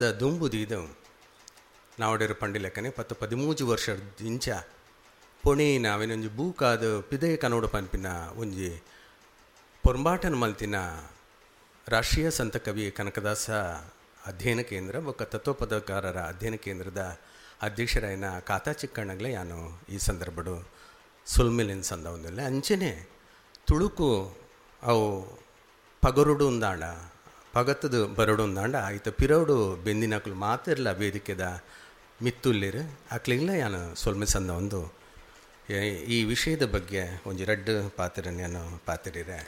ದುಂಬು ದೀದು ನಾವಡೇರು ಪಂಡಿಲೆಕ್ಕನೆ ಪತ್ತು ಪದಿಮೂಜು ವರ್ಷ ಇಂಚ ಪೊಣೀನ ಅವೆನೊಂಜಿ ಬೂಕಾದ ಪಿದಯ ಕನೋಡು ಪನ್ಪಿನ ಒಂಜಿ ಪೊರ್ಂಬಾಟನ ಮಲ್ತಿನ ರಾಷ್ಟ್ರೀಯ ಸಂತ ಕವಿ ಕನಕದಾಸ ಅಧ್ಯಯನ ಕೇಂದ್ರ ಬೊಕ್ಕ ತತ್ವಪದಕಾರರ ಅಧ್ಯಯನ ಕೇಂದ್ರದ ಅಧ್ಯಕ್ಷರಾಯಿನ ಕಾತಾ ಚಿಕ್ಕಣ್ಣಗ್ಲೆ ಯಾನು ಈ ಸಂದರ್ಭಡು ಸುಲ್ಮಿಲಿನ ಸಂದ ಒಂದಿಲ್ಲ. ಅಂಚೆನೆ ತುಳುಕು ಅವು ಪಗರುಡು ಉಂದಾಂಡ ಪಗತ್ತದು ಬರಡು ಉಂದಾಂಡ ಆಯ್ತ ಪಿರೌಡು ಬೆಂದಿನಕಲು ಮಾತಿರ್ಲ ವೇದಿಕೆದ ಮಿತ್ತುಲ್ಲಿರು ಅಕ್ಲಿಗ್ಲ ಯಾನು ಸೊಲ್ಮೆ ಸಂದ ಒಂದು ಈ ವಿಷಯದ ಬಗ್ಗೆ ಒಂಜಿ ರಡ್ಡು ಪಾತ್ರ ನಾನು ಪಾತಿರಿರೆ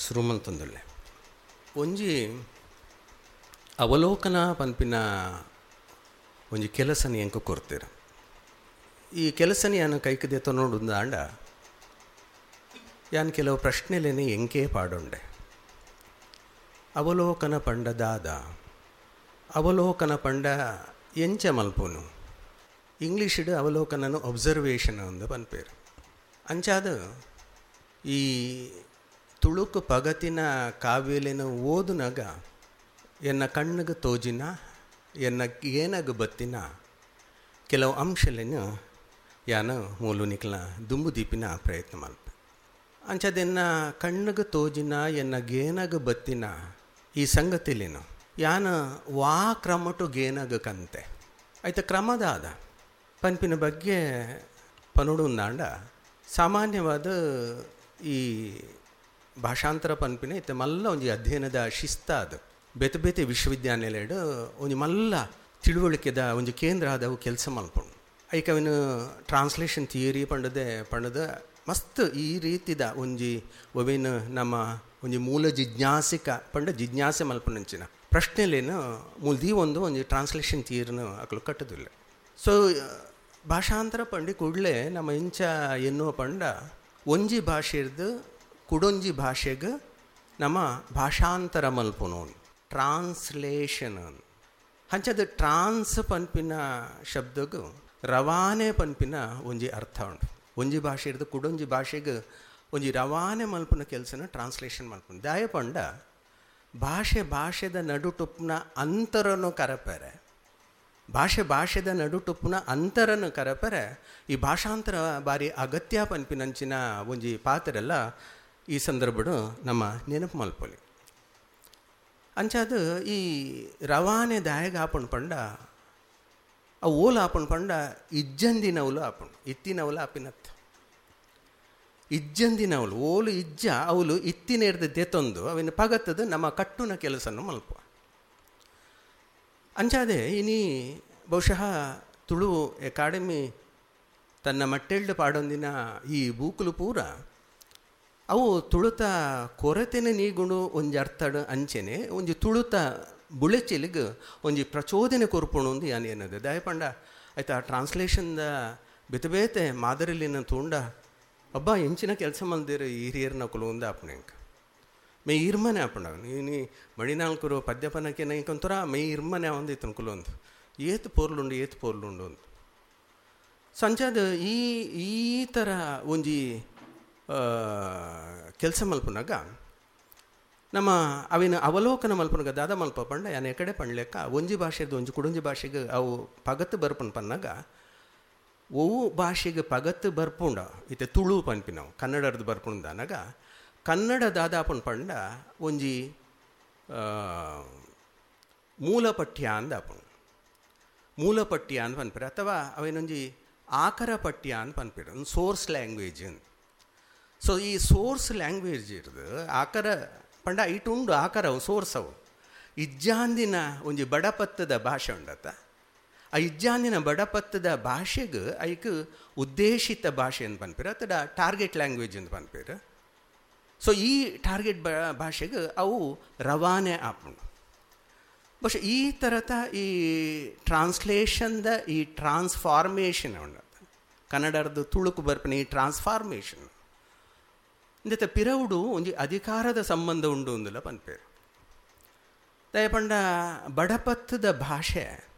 ಸುರುಮಲ್ತೊಂದುಲ್ಲೆ. ಒಂಜಿ ಅವಲೋಕನ ಪನ್ಪಿನ ಒಂಜಿ ಕೆಲಸನ ಎಂಕ ಕೊರ್ತೀರ. ಈ ಕೆಲಸನ ಯಾನು ಕೈಕದೆ ತೊನೋಡುಂದಾಂಡ ಯಾನ್ ಕೆಲವು ಪ್ರಶ್ನೆಲೇನೆ ಎಂಕೇ ಪಾಡೊಂಡೆ. ಅವಲೋಕನ ಪಂಡ ದಾದ, ಅವಲೋಕನ ಪಂಡ ಎಂಚ ಮಲ್ಪುನು, ಇಂಗ್ಲೀಷಿಡು ಅವಲೋಕನನು ಒಬ್ಸರ್ವೇಷನ್ ಅಂದು ಪನ್ಪೇರು. ಅಂಚಾದ ಈ ತುಳುಕು ಪಗತಿನ ಕಾವ್ಯಲೇನ ಓದುನಗ ಎನ್ನ ಕಣ್ಣಿಗೆ ತೋಜಿನ ಎನ್ನ ಏನಾಗ ಬತ್ತಿನ ಕೆಲವು ಅಂಶಲೇನು ಯಾನ ಮೂಲು ನಿಕ್ಲ ದುಂಬು ದೀಪಿನ ಪ್ರಯತ್ನ ಮಲ್ಪೆ. ಅಂಚದೆನ್ನ ಕಣ್ಣಿಗೆ ತೋಜಿನ ಎನ್ನ ಗೇನಾಗ ಬತ್ತಿನ ಈ ಸಂಗತಿಲೇನು ಯಾನ ವಾ ಕ್ರಮಟು ಗೇನಾಗ ಕಂತೆ ಆಯ್ತ ಕ್ರಮದಾದ ಪನ್ಪಿನ ಬಗ್ಗೆ ಪನುಡುಂದಾಂಡ ಸಾಮಾನ್ಯವಾದ ಈ ಭಾಷಾಂತರ ಪನ್ಪಿನ ಇತ್ತೆ ಮಲ್ಲ ಒಂಜಿ ಅಧ್ಯಯನದ ಶಿಸ್ತ ಅದು ಬೇತೆ ಬೇತೆ ವಿಶ್ವವಿದ್ಯಾನಿಲಯಡು ಒಂಜಿ ಮಲ್ಲ ತಿಳುವಳಿಕೆದ ಒಂಜಿ ಕೇಂದ್ರ ಆದವು ಕೆಲಸ ಮಲ್ಪುಂಡು. ಐಕ ಅವಿನ ಟ್ರಾನ್ಸ್ಲೇಷನ್ ಥಿಯರಿ ಪಂಡದೆ ಪಂಡದ ಮಸ್ತ್ ಈ ರೀತಿದ ಒಂಜಿ ಒವೇನು ನಮ್ಮ ಒಂಜಿ ಮೂಲ ಜಿಜ್ಞಾಸಿಕ ಪಂಡ ಜಿಜ್ಞಾಸೆ ಮಲ್ಪುನಂಚಿನ ಪ್ರಶ್ನೆಲೇನು ಮೂಲ್ದೀ ಒಂದು ಒಂಜಿ ಟ್ರಾನ್ಸ್ಲೇಷನ್ ಥಿಯರಿನ ಅಕಲು ಕಟ್ಟದಿಲ್ಲ. ಸೊ ಭಾಷಾಂತರ ಪಂಡಿ ಕೂಡಲೇ ನಮ್ಮ ಇಂಚ ಎನ್ನುವ ಪಂಡ ಒಂಜಿ ಭಾಷೆರ್ದು ಕುಡೊಂಜಿ ಭಾಷೆಗೆ ನಮ್ಮ ಭಾಷಾಂತರ ಮಲ್ಪುನು ಟ್ರಾನ್ಸ್ಲೇಷನ್. ಅಂಚದ ಟ್ರಾನ್ಸ್ ಪನ್ಪಿನ ಶಬ್ದಗೂ ರವಾನೆ ಪನ್ಪಿನ ಒಂಜಿ ಅರ್ಥ ಉಂಟು. ಒಂಜಿ ಭಾಷೆ ಇರ್ದು ಕುಡೊಂಜಿ ಭಾಷೆಗೆ ಒಂಜಿ ರವಾನೆ ಮಲ್ಪುನ ಕೆಲಸನ ಟ್ರಾನ್ಸ್ಲೇಷನ್ ಮಲ್ಪುನ. ದಾಯ ಪಂಡ ಭಾಷೆ ಭಾಷೆದ ನಡುಟುಪ್ನ ಅಂತರನು ಕರಪೆರೆ, ಭಾಷೆ ಭಾಷೆದ ನಡುಟುಪ್ನ ಅಂತರನು ಕರಪೆರೆ ಈ ಭಾಷಾಂತರ ಬಾರಿ ಅಗತ್ಯ ಪನ್ಪಿನಂಚಿನ ಒಂಜಿ ಪಾತ್ರೆಲ್ಲ ಈ ಸಂದರ್ಭಡು ನಮ್ಮ ನೆನಪು ಮಲ್ಪೊಲಿ. ಅಂಚಾದ ಈ ರವಾನೆ ದಾಯಗ ಆಪುಂಡು ಪಂಡ ಅವು ಓಲು ಆಪುಂಡು ಪಂಡ ಇಜ್ಜಂದಿನವಲು ಆಪುಂಡು, ಇತ್ತಿನವಲು ಆಪಿನತ್ತ ಇಜ್ಜಂದಿನವಲು ಓಲು ಇಜ್ಜ ಅವಲು ಇತ್ತಿನೇರ್ದ ದೆತೊಂದು ಅವಿನ ಪಗತ್ತದು ನಮ್ಮ ಕಟ್ಟುನ ಕೆಲಸನ್ನು ಮಲ್ಪ. ಅಂಚಾದೆ ಇನಿ ಬಹುಶಃ ತುಳು ಅಕಾಡೆಮಿ ತನ್ನ ಮಟ್ಟೆಲ್ಡು ಪಾಡೊಂದಿನ ಈ ಬೂಕುಲು ಪೂರ ಅವು ತುಳುತ ಕೊರತೆನೆ ನೀಗುಣು ಒಂಜಿ ಅರ್ಥಡು ಅಂಚೆನೆ ಒಂಜಿ ತುಳುತ ಬುಳೆಚಿಲಿಗೆ ಒಂಜಿ ಪ್ರಚೋದನೆ ಕೊರ್ಪುಣು ಒಂದು ಯಾನ್ ಏನದು ದಯಪಂಡ ಆಯ್ತಾ ಟ್ರಾನ್ಸ್ಲೇಷನ್ದ ಬೇತೆ ಬೇತೆ ಮಾದರಿಲಿನ ತೂಂಡ ಅಬ್ಬಾ ಎಂಚಿನ ಕೆಲಸ ಮಲ್ದಿರು ಹಿರಿಯರ್ನ ಕುಲು ಆಪುಣೆ ಮೇ ಇರ್ಮನೆ ಆಪುಂಡ ನೀ ಮಣಿನಾಲ್ಕರು ಪದ್ಯಪನಕ್ಕೆ ನೈಕೊಂತರ ಮೇ ಇರ್ಮನೆ ಒಂದು ಇತ್ತನ ಕುಲೊಂದು ಏತು ಪೋರ್ಲುಂಡು ಏತು ಪೋರ್ಲುಂಡು ಅಂತ. ಸಂಚಾದ ಈ ಈ ಥರ ಒಂಜಿ ಕೆಲಸ ಮಲ್ಪುನಾಗ ನಮ್ಮ ಅವಿನ ಅವಲೋಕನ ಮಲ್ಪುನಾಗ ದಾದ ಮಲ್ಪ ಪಂಡ ಯಾನ್ ಎಕಡೆ ಪಂಡ್ಲೆಕ್ಕ ಒಂಜಿ ಭಾಷೆದು ಒಂಜಿ ಕುಡೊಂಜಿ ಭಾಷೆಗೆ ಅವು ಪಗತ್ತು ಬರ್ಪುಂಡು ಪನ್ನಾಗ ಒವು ಭಾಷೆಗೆ ಪಗತ್ತು ಬರ್ಪುಂಡ ಇತ್ತೆ ತುಳು ಪನ್ಪಿನವು ಕನ್ನಡದ ಬರ್ಪುಂಡು ಅನ್ನಾಗ ಕನ್ನಡ ದಾದಾಪುಂಡು ಪಂಡ ಒಂಜಿ ಮೂಲ ಪಠ್ಯ ಅಂದಾಪುಂಡು, ಮೂಲ ಪಠ್ಯ ಅಂತ ಪನ್ಪಿರ ಅಥವಾ ಅವೇನೊಂಜಿ ಆಕರ ಪಠ್ಯ ಅಂತ ಪನ್ಪಿರ, ಒಂದು ಸೋರ್ಸ್ ಲ್ಯಾಂಗ್ವೇಜ್ ಅಂತ. ಸೊ ಈ ಸೋರ್ಸ್ ಲ್ಯಾಂಗ್ವೇಜ್ ಇರೋದು ಆಕರ ಪಂಡ ಇಟ್ಟು ಉಂಡು ಆಕರ ಅವು ಸೋರ್ಸ್ ಅವು ಇಜ್ಜಾಂದಿನ ಒಂಜಿ ಬಡಪತ್ತದ ಭಾಷೆ ಉಂಡತ್ತ ಆ ಇಜ್ಜಾಂದಿನ ಬಡಪತ್ತದ ಭಾಷೆಗೆ ಐಕ್ ಉದ್ದೇಶಿತ ಭಾಷೆ ಅಂತ ಪನ್ಪಿರ ಅಥವಾ ಟಾರ್ಗೆಟ್ ಲ್ಯಾಂಗ್ವೇಜ್ ಅಂತ ಪನ್ಪಿರ. ಸೊ ಈ ಟಾರ್ಗೆಟ್ ಭಾಷೆಗೆ ಅವು ರವಾನೆ ಆಪುಂಡು. ಬಹುಶಃ ಈ ಥರದ ಈ ಟ್ರಾನ್ಸ್ಲೇಷನ್ದ ಈ ಟ್ರಾನ್ಸ್ಫಾರ್ಮೇಷನ್ ಉಂಡತ್ತ ಕನ್ನಡದ ತುಳುಕು ಬರ್ಪಿನ ಈ ಟ್ರಾನ್ಸ್ಫಾರ್ಮೇಷನ್ ಇಂದತೆ ಪಿರವುಡು ಒಂಜಿ ಅಧಿಕಾರದ ಸಂಬಂಧ ಉಂಡು ಅಂದಿಲ್ಲ ಪನ್ಪೇರು. ದಯಪಂಡ ಬಡಪತ್ತದ ಭಾಷೆ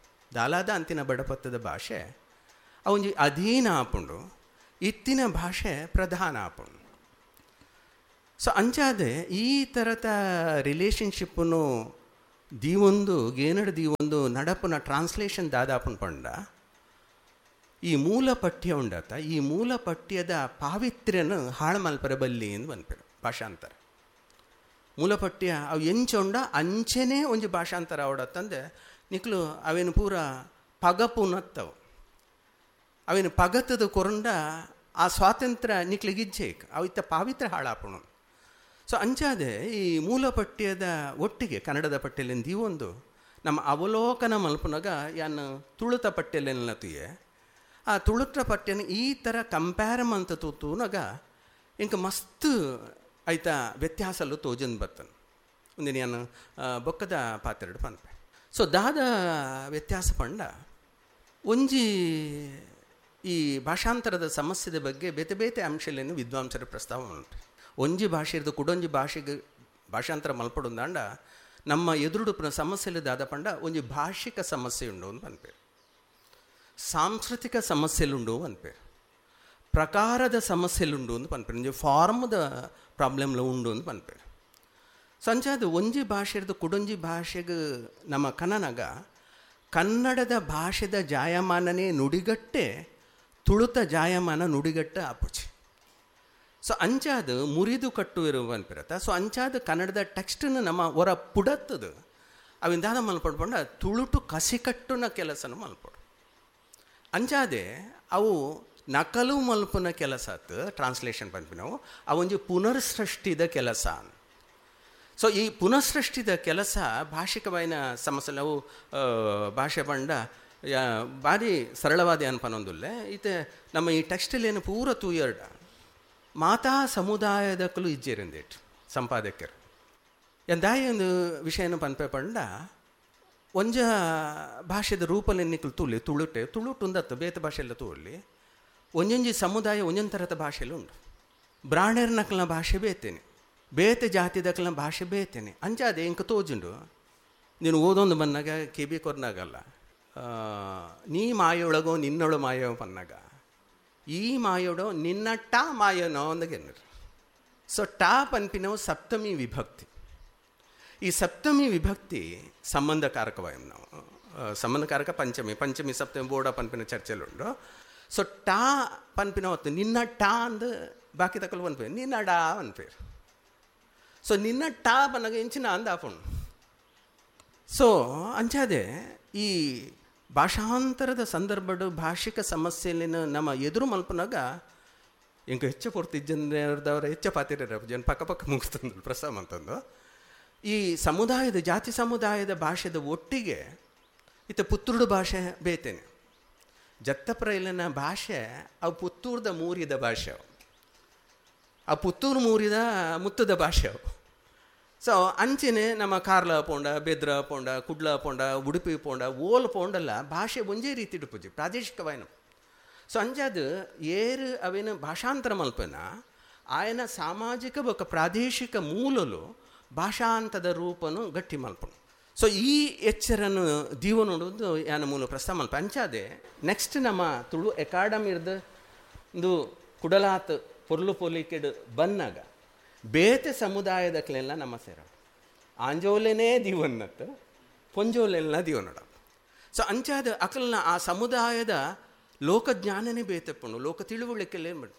ದಾಲಾದ ಅಂತಿನ ಬಡಪತ್ತದ ಭಾಷೆ ಅವೊಂಜಿ ಅಧೀನ ಆಪುಂಡು, ಇತ್ತಿನ ಭಾಷೆ ಪ್ರಧಾನ ಆಪುಂಡು. ಸೊ ಅಂಚಾದೆ ಈ ಥರದ ರಿಲೇಷನ್ಶಿಪ್ಪನ್ನು ದೀವೊಂದು ಗೇನಡ್ ದೀವೊಂದು ನಡಪುನ ಟ್ರಾನ್ಸ್ಲೇಷನ್ ದಾದಾಪುನ ಪಂಡ ಈ ಮೂಲ ಪಠ್ಯ ಉಂಡತ, ಈ ಮೂಲ ಪಠ್ಯದ ಪಾವಿತ್ರ್ಯನ ಹಾಳು ಮಲ್ಪರೆ ಬಲ್ಲಿ ಎಂದು ಪನ್ಪೆರ್ ಭಾಷಾಂತರ. ಮೂಲ ಪಠ್ಯ ಅವು ಎಂಚ ಉಂಡ ಅಂಚೆನೇ ಒಂಜಿ ಭಾಷಾಂತರ ಅವಡತ್ತಂದೆ ನಿಕ್ಲು ಅವೇನು ಪೂರ ಪಗಪುನತ್ತವು, ಅವೇನು ಪಗತದ ಕೊರಂಡ ಆ ಸ್ವಾತಂತ್ರ್ಯ ನಿಕ್ಲಿಗಿಜ್ಜೇಕ್ ಅವು ಇತ್ತ ಪಾವಿತ್ರ್ಯ ಹಾಳಾಪುಣು. ಸೊ ಅಂಚಾದೆ ಈ ಮೂಲ ಪಠ್ಯದ ಒಟ್ಟಿಗೆ ಕನ್ನಡದ ಪಠ್ಯಲಿಂದ ದೀವೊಂದು ನಮ್ಮ ಅವಲೋಕನ ಮಲ್ಪುನಾಗ ಯಾನ್ ತುಳುತ ಪಠ್ಯಲೆಲ್ಲ ತುಯೆ, ಆ ತುಳುತ ಪಠ್ಯನ ಈ ಥರ ಕಂಪೇರ್ ಮಂತ ತೂನಾಗ ಇಂಕ ಮಸ್ತ್ ಐತ ವ್ಯತ್ಯಾಸಲು ತೋಜನ್ ಬರ್ತನ್ ಒಂದಿನ ಯಾನು ಬೊಕ್ಕದ ಪಾತ್ರೆಡು ಪನ್ಪೆ. ಸೊ ದಾದ ವ್ಯತ್ಯಾಸ ಪಂಡ ಒಂಜಿ ಈ ಭಾಷಾಂತರದ ಸಮಸ್ಯೆದ ಬಗ್ಗೆ ಬೇತೆ ಬೇತೆ ಅಂಶಲೇನು ವಿದ್ವಾಂಸರ ಪ್ರಸ್ತಾವ ಉಂಟು. ಒಂಜಿ ಭಾಷೆ ಇರ್ದು ಕುಡೊಂಜಿ ಭಾಷೆಗೆ ಭಾಷಾಂತರ ಮಲ್ಪಡುಂದಾಂಡ ನಮ್ಮ ಎದುರುಡುಪುನ ಸಮಸ್ಯೆಲು ದಾದ ಪಂಡ ಒಂಜಿ ಭಾಷಿಕ ಸಮಸ್ಯೆ ಉಂಡು ಅಂತ ಪನ್ಪೇರು, ಸಾಂಸ್ಕೃತಿಕ ಸಮಸ್ಯೆಲುಂಡು ಪನ್ಪೇರು, ಪ್ರಕಾರದ ಸಮಸ್ಯೆಲುಂಡು ಅಂತ ಪನ್ಪೇರು, ಒಂಜಿ ಫಾರ್ಮ್ದ ಪ್ರಾಬ್ಲಮ್ಲ ಉಂಡು ಅಂತ ಪನ್ಪೇರು. ಸೊ ಅಂಚಾದ ಒಂಜಿ ಭಾಷೆ ಇರ್ದು ಕುಡೊಂಜಿ ಭಾಷೆಗೆ ನಮ್ಮ ಕನ್ನನಾಗ ಕನ್ನಡದ ಭಾಷೆದ ಜಾಯಮಾನನೇ ನುಡಿಗಟ್ಟೆ ತುಳುತ ಜಾಯಮಾನ ನುಡಿಗಟ್ಟೆ ಆಪುಚಿ. ಸೊ ಅಂಚಾದ ಮುರಿದು ಕಟ್ಟುವಿರುವ ಅನ್ಪಿರತ್ತ. ಸೊ ಅಂಚಾದ ಕನ್ನಡದ ಟೆಕ್ಸ್ಟನ್ನು ನಮ್ಮ ಹೊರ ಪುಡತ್ತದು ಅವಿಂದಾದ ಮಲ್ಪಡ್ಕೊಂಡ ತುಳುಟು ಕಸಿಕಟ್ಟುನ ಕೆಲಸನ ಮಲ್ಪಡು. ಅಂಚಾದೆ ಅವು ನಕಲು ಮಲ್ಪುನ ಕೆಲಸ ಆತು ಟ್ರಾನ್ಸ್ಲೇಷನ್ ಪನ್ಪಿನವು, ಅವೊಂಜಿ ಪುನರ್ಸೃಷ್ಟಿದ ಕೆಲಸ. ಸೊ ಈ ಪುನಃಸೃಷ್ಟಿದ ಕೆಲಸ ಭಾಷಿಕವಾಯಿನ ಸಮಸ್ಯೆ ಅವು ಭಾಷೆ ಪಂಡ ಭಾರಿ ಸರಳವಾದ ಅನ್ಪನೊಂದುಲ್ಲೆ. ಈತೆ ನಮ್ಮ ಈ ಟೆಕ್ಸ್ಟಲ್ಲಿ ಏನು ಪೂರ ತೂಯರ್ಡ ಮಾತಾ ಸಮುದಾಯದಕ್ಕಲು ಇಜ್ಜೇರಿಂದೇಟ್ ಸಂಪಾದಕರು ಎಂದಾಯ ಒಂದು ವಿಷಯನ ಪನ್ಪೆ ಪಂಡ ಒಂಜ ಭಾಷೆದ ರೂಪಲ್ಲಿ ನಿಕ್ಕಲು ತೂಲಿ ತುಳುಟೆ ತುಳುಟುಂದತ್ತು ಬೇತೆ ಭಾಷೆಲ್ಲ ತೂಲಿ ಒಂಜೊಂಜಿ ಸಮುದಾಯ ಒಂಜೊಂದು ಥರದ ಭಾಷೆಯಲ್ಲಿ ಉಂಟು. ಬ್ರಾಹ್ಮಣರ ಭಾಷೆ ಬೇತೇನೆ, ಬೇತೆ ಜಾತಿದಕ್ಕಲ ಭಾಷೆ ಬೇತೇನೆ. ಅಂಚಾದೆ ಇಂಕ ತೋಜುಂಡು ನೀನು ಓದೊಂದು ಬಂದಾಗ ಕಿಬಿ ಕೊರ್ನಾಗಲ್ಲ ನೀ ಮಾಯೊಳಗೋ ನಿನ್ನೊಳು ಮಾಯೋ ಪನ್ನಾಗ ಈ ಮಾಯೋಡೋ ನಿನ್ನ ಟಾ ಮಾಯನೋ ಅಂದಗೆನ್ನರು. ಸೊ ಟಾ ಪನ್ಪಿನವು ಸಪ್ತಮಿ ವಿಭಕ್ತಿ. ಈ ಸಪ್ತಮಿ ವಿಭಕ್ತಿ ಸಂಬಂಧಕಾರಕವಾಯಂ ನಾವು ಸಂಬಂಧಕಾರಕ ಪಂಚಮಿ ಪಂಚಮಿ ಸಪ್ತಮಿ ಬೋರ್ಡ ಪನ್ಪಿನ ಚರ್ಚೆಲುಂಡು. ಸೊ ಟಾ ಪನ್ಪಿನ ಹೊತ್ತು ನಿನ್ನ ಟಾ ಅಂದು ಬಾಕಿ ತಕ್ಕಲು ಪನ್ಪೇರು ನಿನ್ನ ಡಾ ಅನ್ಪೇರು. ಸೊ ನಿನ್ನ ಟಾ ಪನ್ನಾಗ ಇಂಚಿನ ಅಂದ ಆಪುಂಡು. ಸೊ ಅಂಚಾದೆ ಈ ಭಾಷಾಂತರದ ಸಂದರ್ಭಡು ಭಾಷಿಕ ಸಮಸ್ಯೆಲಿನ ನಮ್ಮ ಎದುರು ಮಲ್ಪನಾಗ ಇಂಕ ಹೆಚ್ಚು ಪೂರ್ತಿ ಜನರದವರ ಹೆಚ್ಚ ಪಾತಿರ ಜನ ಪಕ್ಕ ಪಕ್ಕ ಮುಗಿಸ್ತಂದು ಪ್ರಸ್ತಾವ ಅಂತಂದು ಈ ಸಮುದಾಯದ ಜಾತಿ ಸಮುದಾಯದ ಭಾಷೆದ ಒಟ್ಟಿಗೆ ಇತ್ತ ಪುತ್ತೂರು ಭಾಷೆ ಬೇತೇನೆ. ಜತ್ತಪ್ರೈಲನ ಭಾಷೆ ಅವು ಪುತ್ತೂರ್ದ ಮೂರಿದ ಭಾಷೆ, ಅವು ಆ ಪುತ್ತೂರು ಮೂರಿದ ಮುತ್ತದ ಭಾಷೆ ಅವು. ಸೊ ಅಂಚೆನೆ ನಮ್ಮ ಕಾರ್ಲ ಪೋಂಡ ಬೆದ್ರ ಪೋಂಡ ಕುಡ್ಲ ಪೋಂಡ ಉಡುಪಿ ಪೋಂಡ ಓಲ್ ಪೋಂಡಲ್ಲ ಭಾಷೆ ಒಂಜೇ ರೀತಿ ಇಡುಪುಜಿ ಪ್ರಾದೇಶಿಕವಾಯಿನ. ಸೊ ಅಂಚಾದ ಏರು ಅವೇನು ಭಾಷಾಂತರ ಮಲ್ಪನ ಆಯನ ಸಾಮಾಜಿಕ ಬೊಕ್ಕ ಪ್ರಾದೇಶಿಕ ಮೂಲಲು ಭಾಷಾಂತದ ರೂಪನು ಗಟ್ಟಿ ಮಲ್ಪನು. ಸೊ ಈ ಎಚ್ಚರನ್ನು ದೀವ ನೋಡೋದು ಯಾನ ಮೂಲ ಪ್ರಸ್ತಾವ ಮಲ್ಪ. ಅಂಚಾದೆ ನೆಕ್ಸ್ಟ್ ನಮ್ಮ ತುಳು ಅಕಾಡೆಮಿರ್ದು ಒಂದು ಕುಡಲಾತ್ ಪೊರ್ಲು ಪೊಲಿಕೆಡು ಬನ್ನಾಗ ಬೇತೆ ಸಮುದಾಯದಕ್ಲೆಲ್ಲ ನಮ್ಮ ಸೇರ ಆಂಜೋಲೆನೇ ದೀವನ್ನತ್ತು ಪೊಂಜೋಲೆಲ್ಲ ದೀವನಡ. ಸೊ ಅಂಚಾದ ಅಕಲ್ನ ಆ ಸಮುದಾಯದ ಲೋಕಜ್ಞಾನನೇ ಬೇತೆಪ್ಪುಂಡು, ಲೋಕ ತಿಳುವಳಿಕೆಲ್ಲೇ ಮಾಡು.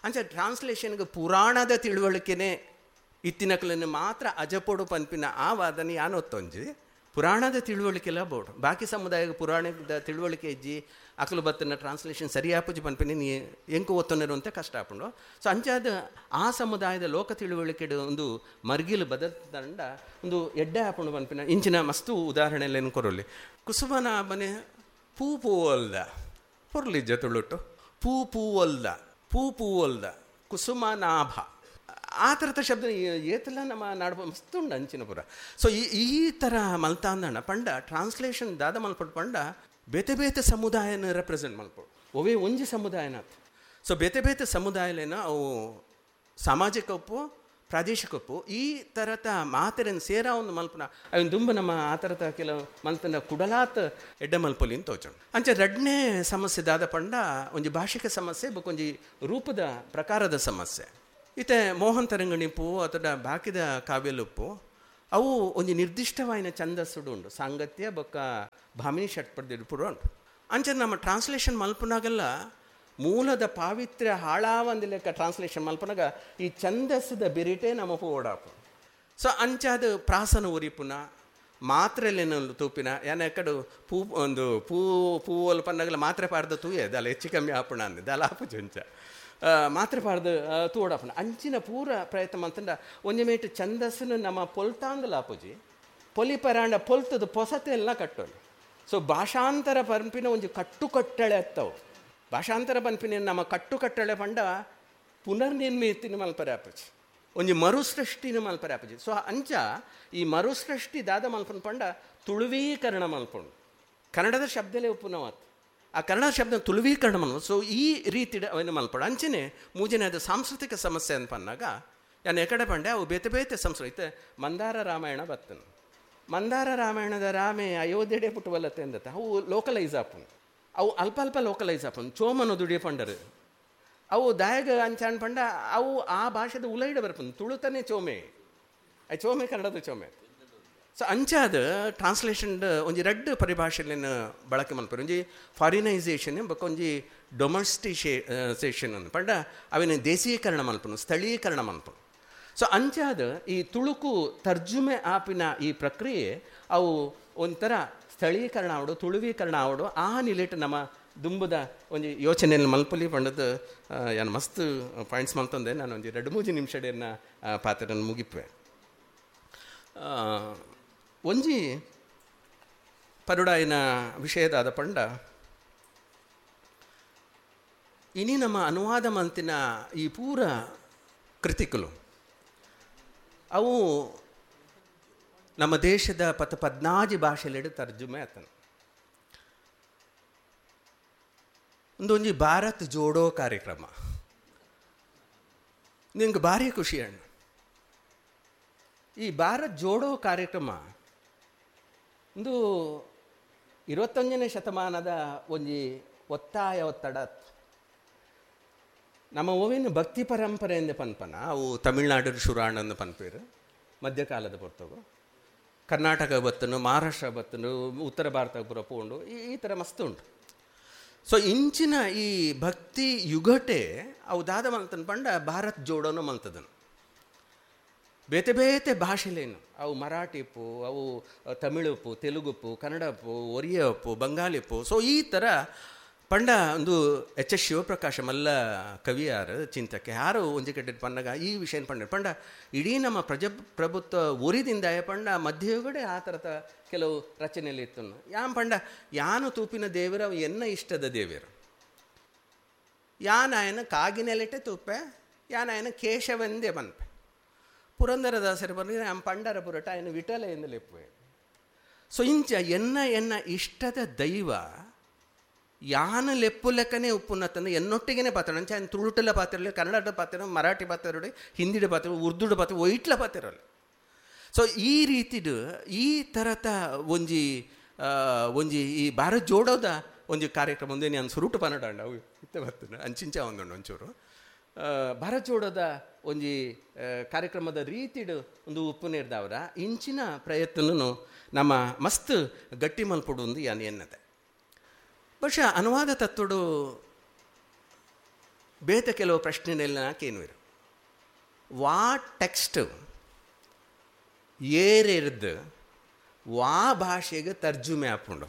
ಅಂಚ ಟ್ರಾನ್ಸ್ಲೇಷನ್ಗೆ ಪುರಾಣದ ತಿಳುವಳಿಕೆನೇ ಇತ್ತಿನಕಲನ್ನು ಮಾತ್ರ ಅಜಪೊಡು ಪನ್ಪಿನ ಆ ವಾದನೆ ಯಾನೊತ್ತೊಂಜಿ ಪುರಾಣದ ತಿಳುವಳಿಕೆಲ್ಲ ಬೋಡು ಬಾಕಿ ಸಮುದಾಯಕ್ಕೆ ಪುರಾಣದ ತಿಳುವಳಿಕೆ ಇಜ್ಜಿ ಅಕಲು ಬತ್ತನ ಟ್ರಾನ್ಸ್ಲೇಷನ್ ಸರಿಯಾಪುಜಿ ಪನ್ಪಿನ ನೀ ಎಂಕು ಒತ್ತೊಂದಿರುವಂಥ ಕಷ್ಟ ಆಪುಂಡು. ಸೊ ಅಂಚಾದ ಆ ಸಮುದಾಯದ ಲೋಕ ತಿಳುವಳಿಕೆ ಒಂದು ಮರ್ಗಿಲು ಬದಲ್ತಂಡ ಒಂದು ಎಡ್ಡೆ ಆಪುಂಡು ಪನ್ಪಿನ ಇಂಚಿನ ಮಸ್ತು ಉದಾಹರಣೆಲ್ಲೇನು ಕೊರೊಲಿ. ಕುಸುಮನ ಮನೆ ಪೂ ಪೂವಲ್ದ ಪೊರ್ಲಿಜ್ಜ ತುಳುಟು ಪೂ ಪೂವಲ್ದ ಪೂ ಪೂವಲ್ದ ಕುಸುಮನಾಭ ಆ ಥರದ ಶಬ್ದ ಏತಲ್ಲ ನಮ್ಮ ನಾಡು ಮಸ್ತ್ ಉಂಡು ಅಂಚಿನ ಪುರ. ಸೊ ಈ ಥರ ಮಲ್ತಾಂದಣ್ಣ ಪಂಡ ಟ್ರಾನ್ಸ್ಲೇಷನ್ ದಾದ ಮಲ್ಪಡು ಪಂಡ ಬೇತೆ ಬೇತೆ ಸಮುದಾಯನ ರೆಪ್ರೆಸೆಂಟ್ ಮಲ್ಪಡು ಒವೇ ಒಂಜಿ ಸಮುದಾಯನ. ಸೊ ಬೇತೆ ಬೇತೆ ಸಮುದಾಯಲೇನ ಅವು ಸಾಮಾಜಿಕ ಒಪ್ಪು ಪ್ರಾದೇಶಿಕ ಒಪ್ಪು ಈ ಥರದ ಮಾತೆರನ್ನು ಸೇರ ಒಂದು ಮಲ್ಪನ ಅವನ್ ದುಂಬ ನಮ್ಮ ಆ ಥರದ ಕೆಲವು ಮಲ್ತನ ಕುಡಲಾತ್ ಎಡ್ಡೆ ಮಲ್ಪೊಲಿ ಅಂತ ತೋಚೋಣ. ಅಂಚೆ ರಡ್ನೇ ಸಮಸ್ಯೆ ದಾದ ಪಂಡ ಒಂಜಿ ಭಾಷಿಕ ಸಮಸ್ಯೆ ಬೊಕ್ಕೊಂಜಿ ರೂಪದ ಪ್ರಕಾರದ ಸಮಸ್ಯೆ. ಇತ್ತೆ ಮೋಹನ್ ತರಂಗಣಿಪು ಅಥವಾ ಬಾಕಿದ ಕಾವ್ಯಲುಪ್ಪು ಅವು ಒಂಜಿ ನಿರ್ದಿಷ್ಟವಾಯಿನ ಛಂದಸ್ಸುಡು ಉಂಡು, ಸಾಂಗತ್ಯ ಬೊಕ್ಕ ಭಾಮಿನಿ ಷಟ್ಪದಿಡು ಪೂರ ಉಂಡು. ಅಂಚ ನಮ್ಮ ಟ್ರಾನ್ಸ್ಲೇಷನ್ ಮಲ್ಪುನಾಗೆಲ್ಲ ಮೂಲದ ಪಾವಿತ್ರ್ಯ ಹಾಳಾವಂದಿ ಲೆಕ್ಕ ಟ್ರಾನ್ಸ್ಲೇಷನ್ ಮಲ್ಪುನಾಗ ಈ ಛಂದಸ್ಸದ ಬಿರಿಟೇ ನಮ್ಮ ಓಡಾಪು. ಸೊ ಅಂಚಾದ ಪ್ರಾಸನ ಉರಿಪುನ ಮಾತ್ರೆಲೇನು ತೂಪಿನ ಯಾನ ಎಕ್ಕಡು ಪೂ ಒಂದು ಪೂ ಪೂವಲ್ ಪನ್ನಗಲ ಮಾತ್ರೆ ಪಾಡ್ದು ತೂಯೆ ದಾಲ ಹೆಚ್ಚು ಕಮ್ಮಿ ಆಪುಣ ಅಂದೆ ದಾಲ ಆಪುಜಿ ಅಂಚ ಮಾತ್ರೆ ಪಾಡ್ದು ತೂಡಾಪುಣ ಅಂಚಿನ ಪೂರ ಪ್ರಯತ್ನ ಮಂತಂಡ ಒಂಜಿ ಮೇಟ್ ಛಂದಸ್ಸನ್ನು ನಮ್ಮ ಪೊಲ್ತಾಂದಲ ಆಪುಜಿ ಪೊಲಿ ಪರಾಂಡ ಪೊಲ್ತದ ಪೊಸತೆಲ್ಲ ಕಟ್ಟೋದು. ಸೊ ಭಾಷಾಂತರ ಪಂಪಿನ ಒಂಜಿ ಕಟ್ಟುಕಟ್ಟಳೆ ಅತ್ತವು. ಭಾಷಾಂತರ ಪನ್ಪಿನ ನಮ್ಮ ಕಟ್ಟುಕಟ್ಟಳೆ ಪಂಡ ಪುನರ್ನಿರ್ಮಿತಿನ ಮಲ್ಪರೆ ಆಪುಜಿ, ಒಂಜಿ ಮರುಸೃಷ್ಟಿನ ಮಲ್ಪರೆ ಆಪುಜಿ. ಸೊ ಅಂಚ ಈ ಮರುಸೃಷ್ಟಿ ದಾದ ಮಲ್ಪನ ಪಂಡ ತುಳುವೀಕರಣ ಮಲ್ಪುಂಡು, ಕನ್ನಡದ ಶಬ್ದಲೇ ಉಪ್ಪುನವಾತ್ ಆ ಕನ್ನಡ ಶಬ್ದ ತುಳುವೀಕರಣ ಮಲ್ಪ. ಸೊ ಈ ರೀತಿ ಅವನು ಮಲ್ಪಡು. ಅಂಚನೆ ಮೂಜನೇ ಅದು ಸಾಂಸ್ಕೃತಿಕ ಸಮಸ್ಯೆ ಅಂತ ಪನ್ನಾಗ ನಾನು ಎಕಡೆ ಪಂಡೆ ಅವು ಬೇತೆ ಬೇತೆ ಸಂಸ್ಕೃತಿ. ಮಂದಾರ ರಾಮಾಯಣ ಬತ್ತನು, ಮಂದಾರ ರಾಮಾಯಣದ ರಾಮೆ ಅಯೋಧ್ಯೆಡೆ ಪುಟ್ಟುವಲ್ಲತ್ತೆ ಅಂದತ್ತ ಅವು ಲೋಕಲೈಸ್ ಆಪುಂಡು, ಅವು ಅಲ್ಪ ಅಲ್ಪ ಲೋಕಲೈಸ್ ಆಪುಂಡು. ಚೋಮನ ದುಡಿಯ ಪಂಡರು ಅವು ದಾಯಗ ಅಂಚಾನ್ ಪಂಡ ಅವು ಆ ಭಾಷೆದ ಉಲೈಡ ಬರ್ಪುಂಡು. ತುಳುತನೇ ಚೋಮೆ, I ಚೋಮೆ ಕನ್ನಡದ ಚೋಮೆ. ಸೊ ಅಂಚಾದ ಟ್ರಾನ್ಸ್ಲೇಷನ್ ಒಂಜಿ ರಡ್ಡ್ ಪರಿಭಾಷೆಯನ್ನು ಬಳಕೆ ಮಲ್ಪರು, ಒಂಜಿ ಫಾರಿನೈಸೇಷನ್ ಬೊಕ್ಕ ಒಂಜಿ ಡೊಮೆಸ್ಟಿಸೇಷನ್ ಅಂದ್ ಪಂಡ ಅವಿನ ದೇಶೀಕರಣ ಮಲ್ಪನು, ಸ್ಥಳೀಕರಣ ಮಲ್ಪನು. ಸೊ ಅಂಚಾದ ಈ ತುಳುಕು ತರ್ಜುಮೆ ಆಪಿನ ಈ ಪ್ರಕ್ರಿಯೆ ಅವು ಒಂಥರ ಸ್ಥಳೀಕರಣ ಆವಡು ತುಳುವೀಕರಣ ಆವಡು ಆ ನಿಲೆಟ್ ನಮ್ಮ ದುಂಬುದ ಒಂಜಿ ಯೋಚನೆಯಲ್ಲಿ ಮಲ್ಪಲಿ ಪಂಡದ್ದು ಯಾನು ಮಸ್ತ್ ಪಾಯಿಂಟ್ಸ್ ಮಲ್ತಂದೆ. ನಾನು ಒಂಜಿ 2-3 ನಿಮಿಷಡೆಯನ್ನ ಪಾತ್ರನ ಮುಗಿಪೆ. ಒಂಜಿ ಪರುಡಾಯಿನ ವಿಷಯದಾದ ಪಂಡ ಇನಿ ನಮ್ಮ ಅನುವಾದ ಮಂತಿನ ಈ ಪೂರ ಕೃತಿಕಲು ಅವು ನಮ್ಮ ದೇಶದ 14 ಭಾಷೆಲೆಡು ತರ್ಜುಮೆ ಆತನ. ಒಂದೊಂಜಿ ಭಾರತ್ ಜೋಡೋ ಕಾರ್ಯಕ್ರಮ ನಿಂಗೆ ಭಾರಿ ಖುಷಿ ಅಣ್ಣ. ಈ ಭಾರತ್ ಜೋಡೋ ಕಾರ್ಯಕ್ರಮ ಒಂದು 21ನೇ ಶತಮಾನದ ಒಂಜಿ ಒತ್ತಾಯ ಒತ್ತಡ. ನಮ್ಮ ಓವಿನ ಭಕ್ತಿ ಪರಂಪರೆ ಎಂದ ಪನ್ಪನ ಅವು ತಮಿಳ್ನಾಡು ಶುರಾಣಂದು ಪನ್ಪೇರು ಮಧ್ಯಕಾಲದ ಪೊರ್ತಗು, ಕರ್ನಾಟಕ ಬತ್ತನು, ಮಹಾರಾಷ್ಟ್ರ ಬತ್ತನು, ಉತ್ತರ ಭಾರತ ಪೂರ ಪೋಂಡು ಈ ಥರ ಮಸ್ತ್ ಉಂಟು. ಸೊ ಇಂಚಿನ ಈ ಭಕ್ತಿ ಯುಗಟೆ ಅವು ದಾದ ಮಲ್ತನ ಪಂಡ ಭಾರತ್ ಜೋಡೋನು ಮಲ್ತದನು. ಬೇತೆ ಬೇತೆ ಭಾಷೆಲೇನು ಅವು ಮರಾಠಿಪ್ಪು, ಅವು ತಮಿಳುಪ್ಪು, ತೆಲುಗುಪ್ಪು, ಕನ್ನಡಪ್ಪು, ಒರಿಯಪ್ಪು, ಬಂಗಾಲಿಪ್ಪು. ಸೊ ಈ ಥರ ಪಂಡ ಒಂದು ಎಚ್ ಎಸ್ ಶಿವಪ್ರಕಾಶ ಮಲ್ಲ ಕವಿಯಾರು ಚಿಂತಕ್ಕೆ ಯಾರು ಒಂಜಿ ಕಡೆ ಪನ್ನಗ ಈ ವಿಷಯ ಪಂಡ ಪಂಡ ಇಡೀ ನಮ್ಮ ಪ್ರಜಾಪ್ರಭುತ್ವ ಒರಿದಿಂದ ಪಂಡ ಮಧ್ಯಯುಗಡೆ ಆ ಥರದ ಕೆಲವು ರಚನೆಯಲ್ಲಿ ಇತ್ತು. ಯಾನ್ ಪಂಡ ಯಾನು ತೂಪಿನ ದೇವರ ಎನ್ನ ಇಷ್ಟದ ದೇವರು, ಯಾನಾಯನ ಕಾಗಿನೆಲೆಟೆ ತೂಪೆ, ಯಾನಾಯನ ಕೇಶವೆಂದೇ ಬನ್ಪೆ. ಪುರಂದರದಾಸರು ಬಂದರೆ ನಮ್ಮ ಪಂಡರ ಪುರಟ ಆಯನ ವಿಠಲ ಎಂದು ಲೆಪ್ಪುವೆ. ಸೊ ಇಂಚ ಎನ್ನ ಎನ್ನ ಇಷ್ಟದ ದೈವ ಯಾನ ಲೆಪ್ಪು ಲೆಕ್ಕನೇ ಉಪ್ಪುನ ತಂದು ಎನ್ನೊಟ್ಟಿಗೆನೇ ಪಾತ್ರ ಅಂಚೆ ఆయన ತುಳುಟಲ ಪಾತ್ರಲಿ, ಕನ್ನಡದ ಪಾತ್ರ, ಮರಾಠಿ ಪಾತ್ರ, ಹಿಂದಿಡ ಪಾತ್ರ, ಉರ್ದುಡ ಪಾತ್ರ, ಒಯ್ಟ್ಲ ಪಾತ್ರಲ್ಲ. ಸೊ ಈ ರೀತಿದು ಈ ಥರದ ಒಂಜಿ ಒಂಜಿ ಈ ಭಾರತ್ ಜೋಡೋದ ಒಂಜಿ ಕಾರ್ಯಕ್ರಮ ಒಂದೇ ನಾನು ಸುರುಟು ಪನ್ನಡ ಅವು ಇತ್ತ ಬರ್ತದೆ ಅಂಚಿಂಚ ಒಂದುಂಡು ಒಂಚೂರು ಭಾರತ್ ಜೋಡೋದ ಒಂಜಿ ಕಾರ್ಯಕ್ರಮದ ರೀತಿಡು ಒಂದು ಉಪ್ಪು ನೇರ್ದವರ ಇಂಚಿನ ಪ್ರಯತ್ನನು ನಮ್ಮ ಮಸ್ತ್ ಗಟ್ಟಿ ಮಲ್ಪಡು ಒಂದು ಯಾನು ಎನ್ನದೆ. ಬಹುಶಃ ಅನುವಾದ ತತ್ವಡು ಬೇತ ಕೆಲವು ಪ್ರಶ್ನೆನೆಲ್ಲ ಕೇನುವಿರು ವಾ ಟೆಕ್ಸ್ಟ್ ಏರೆರ್ದು ವಾ ಭಾಷೆಗೆ ತರ್ಜುಮೆ ಆಪುಂಡು.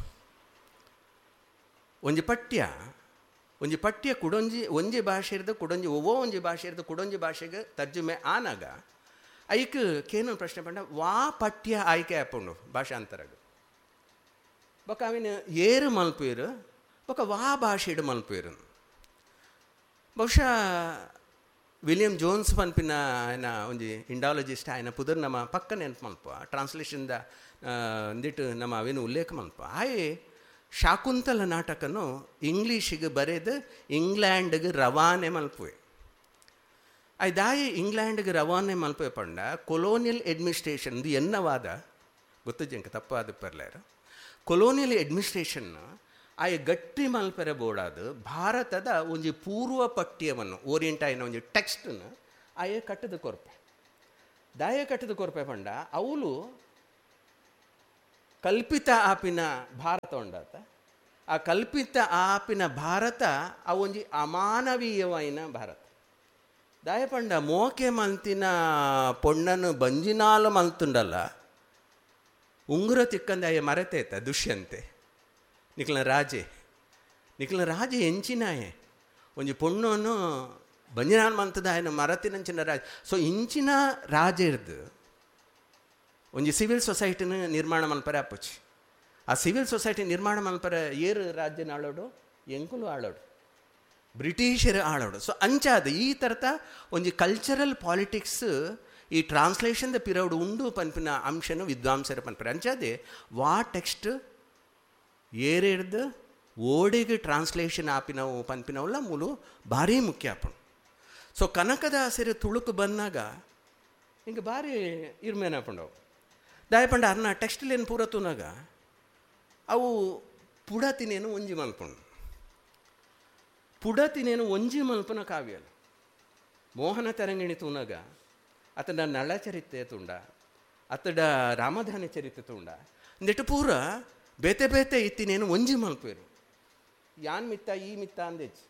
ಒಂಜಿ ಪಠ್ಯ ಒಂಜಿ ಪಠ್ಯ ಕುಡೊಂಜಿ ಒಂಜಿ ಭಾಷೆ ಇರ್ದು ಕುಡೊಂಜಿ ಒವ್ವೋ ಒಂಜಿ ಭಾಷೆ ಇರ್ದು ಕುಡೊಂಜಿ ಭಾಷೆಗೆ ತರ್ಜುಮೆ ಆನಾಗ ಐಕ್ ಕೇನು ಪ್ರಶ್ನೆ ಪಂಡ ವಾ ಪಠ್ಯ ಆಯ್ಕೆ ಆಪುಂಡು ಭಾಷಾಂತರಗ ಬೊಕ ಅವಿನ ಏರು ಮಲ್ಪೇರು ಬೊಕ ವಾ ಭಾಷೆಡು ಮಲ್ಪೇರು. ಬಹುಶಃ ವಿಲಿಯಂ ಜೋನ್ಸ್ ಪನ್ಪಿನ ఆయన ಒಂಜಿ ಇಂಡಾಲಜಿಸ್ಟ್ ఆయన ಪುದರ್ ನಮ್ಮ ಪಕ್ಕ ನೆನಪು ಮಲ್ಪ ಟ್ರಾನ್ಸ್ಲೇಷನ್ದ ಒಂದಿಟ್ಟು ನಮ್ಮ ಅವೇನು ಉಲ್ಲೇಖ ಮಲ್ಪ. ಆಯೆ ಶಾಕುಂತಲ ನಾಟಕನು ಇಂಗ್ಲೀಷಿಗೆ ಬರೆದು ಇಂಗ್ಲ್ಯಾಂಡ್ಗೆ ರವಾನೆ ಮಲ್ಪುವೆ. ದಾಯಿ ಇಂಗ್ಲ್ಯಾಂಡ್ಗೆ ರವಾನೆ ಮಲ್ಪುವೆ ಪಂಡ ಕೊಲೋನಿಯಲ್ ಅಡ್ಮಿನಿಸ್ಟ್ರೇಷನ್ ಎನ್ನವಾದ ಗೊತ್ತು ಜಂಕ ತಪ್ಪಾದ ಪರ್ಲೇರು ಕೊಲೋನಿಯಲ್ ಅಡ್ಮಿನಿಸ್ಟ್ರೇಷನ್ ಆಯ ಗಟ್ಟಿ ಮಲ್ಪೆರೆ ಬೋಡಾದು ಭಾರತದ ಒಂಜಿ ಪೂರ್ವ ಪಠ್ಯವನ್ನು ಓರಿಯಂಟ್ ಆಯಿನ ಒಂಜಿ ಟೆಕ್ಸ್ಟನ್ನು ಆಯ ಕಟ್ಟದ ಕೊರ್ಪೆ. ದಾಯ ಕಟ್ಟದ ಕೊರ್ಪೆ ಪಂಡ ಅವಳು ಕಲ್ಪಿತ ಆಪಿನ ಭಾರತ ಉಂಡಾತ. ಆ ಕಲ್ಪಿತ ಆಪಿನ ಭಾರತ ಅವೊಂಜಿ ಅಮಾನವೀಯವಾಯಿನ ಭಾರತ. ದಾಯಪಂಡ ಮೋಕೆ ಮಲ್ತಿನ ಪೊಣ್ಣನು ಬಂಜಿನಾಲು ಮಲ್ತುಂಡಲ್ಲ ಉಂಗುರ ತಿಕ್ಕಂದ ಅಯ್ಯ ಮರೆತೇತ ದುಷ್ಯಂತೆ ನಿಕ್ಲನ ರಾಜೆ, ನಿಕ್ಲನ ರಾಜೆ ಎಂಚಿನಾಯೆ ಒಂಜಿ ಪೊಣ್ಣನು ಬಂಜಿನಾಲ್ ಮಂತದ ಆಯನ ಮರತಿನಂಚಿನ ರಾಜ. ಸೊ ಇಂಚಿನ ರಾಜೆರ್ದು ಒಂಜಿ ಸಿವಿಲ್ ಸೊಸೈಟಿನ ನಿರ್ಮಾಣ ಮಲ್ಪರೆ ಅಪ್ಪುಚಿ. ಆ ಸಿವಿಲ್ ಸೊಸೈಟಿ ನಿರ್ಮಾಣ ಮಲ್ಪರೆ ಏರು ರಾಜ್ಯನ ಆಳೋಡು, ಎಂಕುಲು ಆಳೋಡು, ಬ್ರಿಟಿಷರು ಆಳೋಡು. ಸೊ ಅಂಚಾದ ಈ ಥರದ ಒಂಜಿ ಕಲ್ಚರಲ್ ಪಾಲಿಟಿಕ್ಸ್ ಈ ಟ್ರಾನ್ಸ್ಲೇಷನ್ the ಪಿರೌಡ್ ಉಂಡು ಪನ್ಪಿನ ಅಂಶನು ವಿದ್ವಾಂಸರು ಪನ್ಪರೆ. ಅಂಚಾದೆ ವಾ ಟೆಕ್ಸ್ಟ್ ಏರೇರ್ದು ಓಡೆಗೆ ಟ್ರಾನ್ಸ್ಲೇಷನ್ ಆಪಿನವು ಪನ್ಪಿನವಲ್ಲ ಮೂಲು ಭಾರಿ ಮುಖ್ಯ ಆಪುಂಡು. ಸೊ ಕನಕದಾಸರು ತುಳುಕು ಬಂದಾಗ ಹಿಂಗೆ ಭಾರಿ ಇರ್ಮೇನಾಪುಂಡವು. ದಾಯಪಂಡ ಅರ್ನ ಟೆಕ್ಸ್ಟ್ಲೇನು ಪೂರ ತೂನಾಗ ಅವು ಪುಡತಿನೇನು ಒಂಜಿ ಮಲ್ಪುಂಡು, ಪುಡತಿನೇನು ಒಂಜಿ ಮಲ್ಪನ ಕಾವ್ಯಲ್ಲ. ಮೋಹನ ತರಂಗಿಣಿ ತೂನಾಗ ಅತಡ ನಳಚರಿತ್ರೆ ತುಂಡ, ಅತಡ ರಾಮಧಾನಿ ಚರಿತ್ರೆ ತುಂಡ, ಇಂದೆಟ್ಟು ಪೂರ ಬೇತೆ ಬೇತೆ ಇತ್ತಿನೇನು ಒಂಜಿ ಮಲ್ಪೇರು ಯಾನ್ ಮಿತ್ತ ಈ ಮಿತ್ತ ಅಂದೆಚ್ಚು.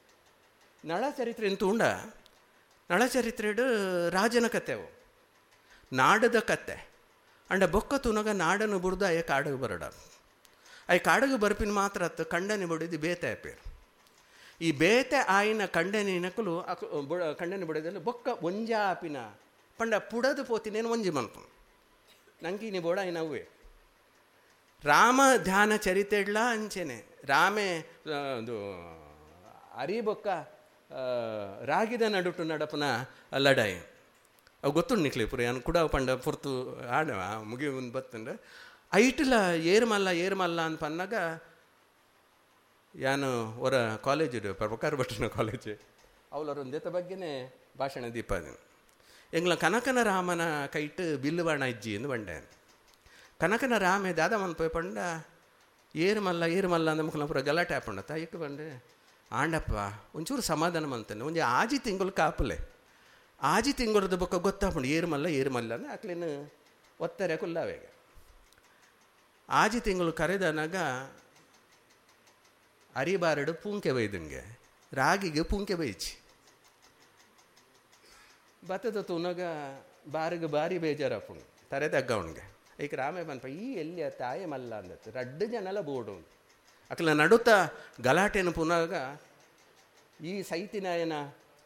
ನಳಚರಿತ್ರೆ ತುಂಡ, ನಳಚರಿತ್ರೆಡು ರಾಜನ ಕತೆ ಅವು, ನಾಡದ ಕತೆ. ಅಂಡ ಬೊಕ್ಕ ತುನಗ ನಾಡನ್ನು ಬುಡ್ದು ಅಯ್ಯ ಕಾಡಗೆ ಬರಡ, ಅಯ್ಯ ಕಾಡಗೆ ಬರ್ಪಿನ ಮಾತ್ರ ಅತ್ತು ಕಂಡನೆ ಬಡಿದು ಬೇತೆ ಆಪೇರು. ಈ ಬೇತೆ ಆಯಿನ ಕಂಡನೆ ನಕಲು ಕಂಡನೆ ಬಡಿದಲ್ಲಿ ಬೊಕ್ಕ ಒಂಜಾಪಿನ ಪಂಡ ಪುಡದು ಪೋತಿನೇನು ಒಂಜಿ ಮಲ್ಪು ನಂಗೆ ನೀ ಬೋಡ ನವ್ವೆ. ರಾಮ ಧ್ಯಾನ ಚರಿತೆಡ್ಲ ಅಂಚೆನೆ ರಾಮೆ ಒಂದು ಅರಿಬೊಕ್ಕ ರಾಗಿದ ನಡುಟು ನಡಪನ ಲಡಾಯಿ ಅವು ಗೊತ್ತುಂಡು ನಿಕ್ಲೆ ಪುರ ಯಾನು ಕೂಡ ಪಂಡ ಪೊರ್ತು ಆಡ ಮುಗಿ ಒಂದು ಬತ್ತಂಡ ಐಟ್ಲ ಏರ್ಮಲ್ಲ ಏರ್ಮಲ್ಲ ಅಂತ ಪನ್ನಾಗ ಯಾನು ಅವರ ಕಾಲೇಜ್ ಪ್ರಭಾಕರ್ ಭಟ್ಟನ ಕಾಲೇಜ್ ಅವಳವರೊಂದೇತ ಬಗ್ಗೆನೇ ಭಾಷಣ ದೀಪ ಎಂಗ್ಲ ಕನಕನ ರಾಮನ ಕೈಟ್ ಬಿಲ್ಲುಬಾಣ ಇಜ್ಜಿ ಎಂದು ಬಂಡೆ. ಕನಕನ ರಾಮೆ ದಾದ ಮನ್ಪೋಯ್ ಪಂಡ ಏರ್ಮಲ್ಲ ಏರ್ಮಲ್ಲ ಅಂದ ಮುಖಲ ಪೂರ ಗಲಾಟೆ ಹಾಪಂಡ ತಾಯಿಕ್ ಬಂಡೆ ಆಂಡಪ್ಪ ಒಂಚೂರು ಸಮಾಧಾನ ಮಂತಾನೆ ಒಂಜಿ ಆಜಿ ತಿಂಗಳು ಕಾಪಲೆ ಆಜಿ ತಿಂಗಳದ ಬೊಕ್ಕ ಗೊತ್ತಾಪಂಡು ಏರ್ಮಲ್ಲ ಏರ್ಮಲ್ಲ ಅಂದ್ರೆ ಅಕ್ಲೇನು ಒತ್ತಾರೆ ಕುಲ್ಲಾವೇಗ. ಆಜಿ ತಿಂಗಳು ಕರೆದನಾಗ ಅರಿಬಾರಡು ಪೂಂಕೆ ಬೈದಂಗೆ ರಾಗಿಗೆ ಪೂಂಕೆ ಬೈಚಿ ಬತ್ತದ ತೂನಾಗ ಬಾರಿಗೆ ಬಾರಿ ಬೇಜಾರಪ್ಪುಂಡು ತರೆ ತಗ್ಗವನಿಗೆ. ಈಗ ರಾಮೆ ಬನ್ಪ ಈ ಎಲ್ಲಿಯ ತಾಯಿ ಮಲ್ಲ ಅಂದತ್ತು ರಡ್ಡು ಜನಲ ಬೋಡು ಅಕ್ಲ ನಡುತ್ತ ಗಲಾಟೆನ ಪುನಾಗ ಈ ಸೈತಿನಾಯನ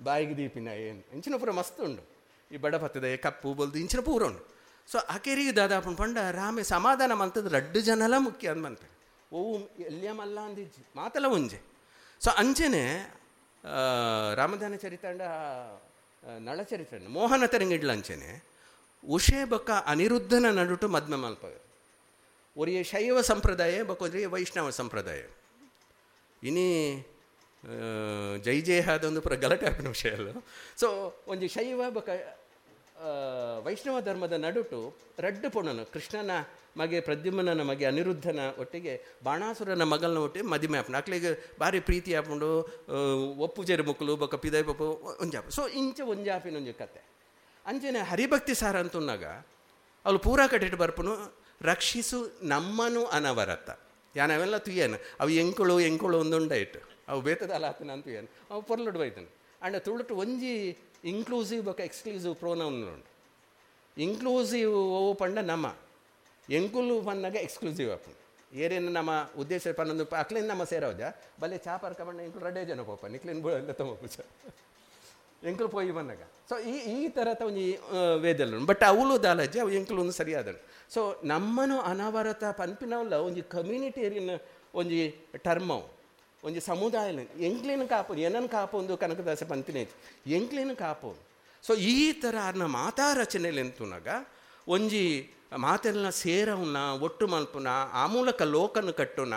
ಬಾಯಿಗೆ ದೀಪಿನ ಏನು ಇಂಚಿನ ಪೂರ ಮಸ್ತ್ ಉಂಡು ಈ ಬಡ ಪತ್ತದ ಕಪ್ಪು ಬಲ್ದು ಇಂಚಿನ ಪೂರ ಉಂಡು. ಸೊ ಅಕೆರಿಗೆ ದಾದಾಪುಂಡು ಪಂಡ ರಾಮೆ ಸಮಾಧಾನ ಮಲ್ತದ ರಡ್ಡು ಜನಲ ಮುಖ್ಯ ಅಂದ್ ಬಂತೆ ಓ ಎಲ್ಲಿಯ ಮಲ್ಲ ಅಂದಿಜ್ಜಿ ಮಾತಲ್ಲ ಒಂಜೆ. ಸೊ ಅಂಚೆನೆ ರಾಮಧಾನ ಚರಿತಾಂಡ ನಳಚರಿತ್ರೆ ಮೋಹನ ತೆರಂಗಿಡ್ಲ ಅಂಚೆನೆ ಉಷೆ ಬೊಕ್ಕ ಅನಿರುದ್ಧನ ನಡುಟು ಮದ್ಮೆ ಮಲ್ಪವೆ. ಒರಿಯ ಶೈವ ಸಂಪ್ರದಾಯ ಬೊಕ್ಕ ವೈಷ್ಣವ ಸಂಪ್ರದಾಯ. ಇನಿ ಜೈ ಜಯ ಅದೊಂದು ಪೂರ ಗಲಾಟೆ ಆಪಿನ ವಿಷಯ ಅಲ್ಲ. ಸೊ ಒಂಜಿ ಶೈವ ಬೊಕ್ಕ ವೈಷ್ಣವ ಧರ್ಮದ ನಡುಟು ರಡ್ಡು ಪೊಣ್ಣನು ಕೃಷ್ಣನ ಮಗೆ ಪ್ರದ್ಯುಮ್ನ ಮಗೆ ಅನಿರುದ್ಧನ ಒಟ್ಟಿಗೆ ಬಾಣಾಸುರನ ಮಗಲ್ನ ಒಟ್ಟಿಗೆ ಮದಿಮೆ ಆಪುಂಡು. ಅಕ್ಲೆಗ್ ಭಾರಿ ಪ್ರೀತಿ ಆಪುಂಡು ಒಪ್ಪು ಜೇರು ಮುಕ್ಕಲು ಬೊಕ್ಕ ಪಿದೈ ಪಪ್ಪು ಒಂಜಾಪು. ಸೊ ಇಂಚ ಒಂಜಾಪಿನ ಒಂಜಿ ಕತೆ. ಅಂಚೆನೆ ಹರಿಭಕ್ತಿ ಸಾರ ಅಂತುನ್ನಾಗ ಅವಳು ಪೂರಾ ಕಟ್ಟಿಟ್ಟು ಬರ್ಪುನು ರಕ್ಷಿಸು ನಮ್ಮನು ಅನವರತ ಯಾನ್ ಅವೆಲ್ಲ ತುಯ್ಯನು ಅವು ಎಂಕುಳು ಎಂಕುಳು ಒಂದುಂಡಾಯಿಟ್ಟು ಅವು ಬೇತದಲ್ಲ ಆತನ ಅಂತ ತುಯ್ಯನು ಅವು ಪೊರ್ಲುಡು ಬೈತನು. ಅಂಡ ತುಳುಟು ಒಂಜಿ ಇನ್ಕ್ಲೂಸಿವ್ ಬೊಕ್ಕ ಎಕ್ಸ್ಕ್ಲೂಸಿವ್ ಪ್ರೋನೌನ್ ಉಂಡು. ಇನ್ಕ್ಲೂಸಿವ್ ಓ ಪಂಡ ನಮ್ಮ ಎಂಕುಲು ಪನ್ನಾಗ ಎಕ್ಸ್ಕ್ಲೂಸಿವ್ ಆಪುಂಡು. ಏರೇನು ನಮ್ಮ ಉದ್ದೇಶ ಪನ್ನೊಂದು ಅಕ್ಲೇನು ನಮ್ಮ ಸೇರೋಜ ಬಲೆ ಚಾಪರ್ಕ ಬಣ್ಣ ಎಂಕುಲು ರಡ್ಡೇ ಜನ ಪೋಪ ನಿಕ್ಲೇನು ತಮ್ಮ ಎಂಕುಲು ಪೋಯಿ ಬಂದಾಗ. ಸೊ ಈ ಈ ಥರದ ಒಂಜಿ ವೇದಲ್ಲ ಬಟ್ ಅವಳು ದಾಲಜ್ಜಿ ಅವು ಎಂಕುಲು ಒಂದು ಸರಿಯಾದನು. ಸೊ ನಮ್ಮನು ಅನವರತ ಪನ್ಪಿನವಲ್ಲ ಒಂಜಿ ಕಮ್ಯುನಿಟೇರಿಯನ್ ಒಂಜಿ ಟರ್ಮ್ ಅವು ಒಂಜಿ ಸಮುದಾಯ ಎಂಕ್ಲೇನು ಕಾಪು ಏನನ್ನು ಕಾಪೊಂದು ಕನಕದಾಸ ಪನ್ಪಿನ ಎಂಕ್ಲೇನು ಕಾಪು. ಸೊ ಈ ಥರ ಅರ್ನ ಮಾತಾ ರಚನೆಯಲ್ಲಿ ಎಂತುನಾಗ ಒಂಜಿ ಮಾತೆಲ್ಲ ಸೇರವನ್ನ ಒಟ್ಟು ಮಲ್ಪುನ ಆ ಮೂಲಕ ಲೋಕನ ಕಟ್ಟುನ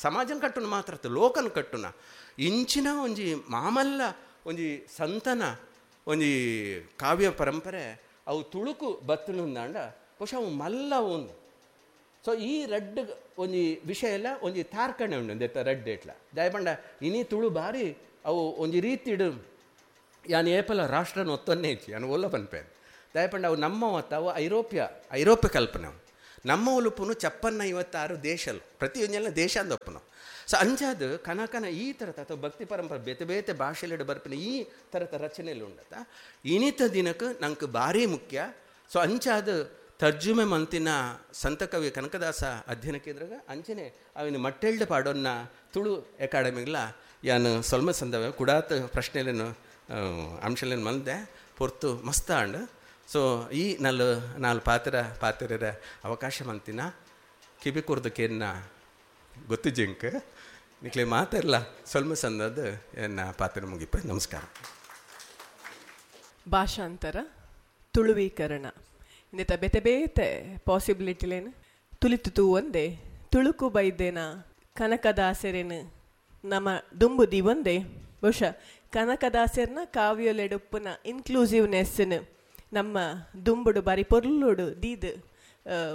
ಸಮಾಜನ ಕಟ್ಟುನ ಮಾತ್ರ ಲೋಕನ ಕಟ್ಟುನ ಇಂಚಿನ ಒಂಜಿ ಮಾಮಲ್ಲ ಒಂಜಿ ಸಂತನ ಒಂಜಿ ಕಾವ್ಯ ಪರಂಪರೆ ಅವು ತುಳುಕು ಬತ್ತುಂದಾಂಡ ಬಹುಶಃ ಅವು ಮಲ್ಲ ಒಂದು. ಸೊ ಈ ರಡ್ಡು ಒಂಜಿ ವಿಷಯ ಎಲ್ಲ ಒಂಜಿ ತಾರ್ಕಣೆ ಉಂಡು ಒಂದೆತ್ತ ರಡ್ಡು ಎಟ್ಲ ದಯಪಂಡ ಇನಿ ತುಳು ಬಾರಿ ಅವು ಒಂಜಿ ರೀತಿಡು ಯಾನ್ ಏಪಲ ರಾಷ್ಟ್ರನ ಒತ್ತೊನ್ನೇ ಇಚ್ಚಿ ಯಾನು ಒಲ್ಲ ಪನ್ಪೆ ದಾಯಪಂಡ ಅವು ನಮ್ಮ ಅವು ಐರೋಪ್ಯ ಐರೋಪ್ಯ ಕಲ್ಪನೆ. ನಮ್ಮ ಉಲುಪುನು 56 ದೇಶಲು ಪ್ರತಿಯೊಂಜೆಲ್ಲ ದೇಶ ಅಂದೊಪ್ಪನು. ಸೊ ಅಂಚಾದ ಕನಕನ ಈ ಥರದ ಅಥವಾ ಭಕ್ತಿ ಪರಂಪರೆ ಬೇತೆ ಬೇತೆ ಭಾಷೆಲೆಡ್ ಬರ್ಪಿನ ಈ ಥರದ ರಚನೆಯಲ್ಲಿ ಉಂಡತ ಇನಿತ ದಿನಕ್ಕೆ ನಂಗೆ ಭಾರಿ ಮುಖ್ಯ. ಸೊ ಅಂಚಾದ ತರ್ಜುಮೆ ಮಂತಿನ ಸಂತಕವಿ ಕನಕದಾಸ ಅಧ್ಯಯನ ಕೇಂದ್ರಗ ಅಂಚನೆ ಅವಿನ ಮಟ್ಟೆಲ್ಡ್ ಪಾಡೋನ್ನ ತುಳು ಅಕಾಡೆಮಿಗ್ಲ ಯಾನು ಸೊಲ್ಮ ಸಂದವ ಕುಡಾತ್ ಪ್ರಶ್ನೆಲೇನು ಅಂಶಲೇನು ಮಲ್ದೆ ಪೊರ್ತು ಮಸ್ತ ಅಂಡ್. ಸೊ ಈ ನಲ್ಲು ನಾಲ್ ಪಾತ್ರ ಪಾತ್ರರ ಅವಕಾಶ ಮಂತಿನ ಕಿಬಿ ಕುರ್ದು ಕೇನ್ನ ಗೊತ್ತು ಜಿಂಕ್ ನಿಕ್ಲೆ ಮಾತೆಲ್ಲ ಸೊಲ್ಮ ಸಂದದ ಎನ್ನ ಪಾತ್ರ ಮುಗಿಪ. ನಮಸ್ಕಾರ. ಭಾಷಾಂತರ ತುಳುವೀಕರಣ ಇಂದಿತ ಬೇತೆ ಬೇತೆ ಪಾಸಿಬಿಲಿಟಿಲೇನು ತುಳಿತು ತೂ ಒಂದೇ ತುಳುಕು ಬೈದೇನ ಕನಕದಾಸರೇನು ನಮ್ಮ ದುಂಬುದಿ ಒಂದೇ. ಬಹುಶಃ ಕನಕದಾಸರ್ನ ಕಾವ್ಯಲೆಡುಪ್ಪುನ ಇನ್ಕ್ಲೂಸಿವ್ನೆಸ್ನ ನಮ್ಮ ದುಂಬುಡು ಬಾರಿ ಪೊರ್ಲುಡು ದೀದ್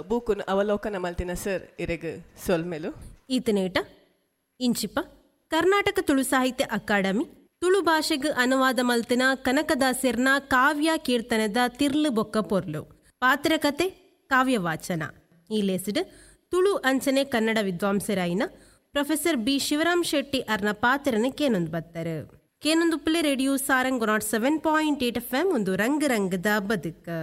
ಬೂಕುನು ಅವಲೋಕನ ಮಲ್ತಿನ ಸರ್ ಇರೆಗ್ ಸೊಲ್ಮೆಲು. ಈತನೇಟ ಇಂಚಿಪ ಕರ್ನಾಟಕ ತುಳು ಸಾಹಿತ್ಯ ಅಕಾಡೆಮಿ ತುಳು ಭಾಷೆಗೆ ಅನುವಾದ ಮಲ್ತಿನ ಕನಕದಾಸರ್ನ ಕಾವ್ಯ ಕೀರ್ತನದ ತಿರ್ಲು ಬೊಕ್ಕ ಪೊರ್ಲು ಪಾತ್ರಕತೆ ಕಾವ್ಯವಾಚನ ಈ ಲೇಸಿಡ್ ತುಳು ಅಂಚನೆ ಕನ್ನಡ ವಿದ್ವಾಂಸರಾಯಿನ ಪ್ರೊಫೆಸರ್ ಬಿ ಶಿವರಾಮ್ ಶೆಟ್ಟಿ ಅರ್ನ ಪಾತ್ರನ ಕೇನೊಂದು ಬತ್ತರು. ಕೇನೊಂದುಪ್ಪಲೆ radio Sarang 107.8 FM ಒಂದು ರಂಗ ರಂಗದ ಬದುಕು.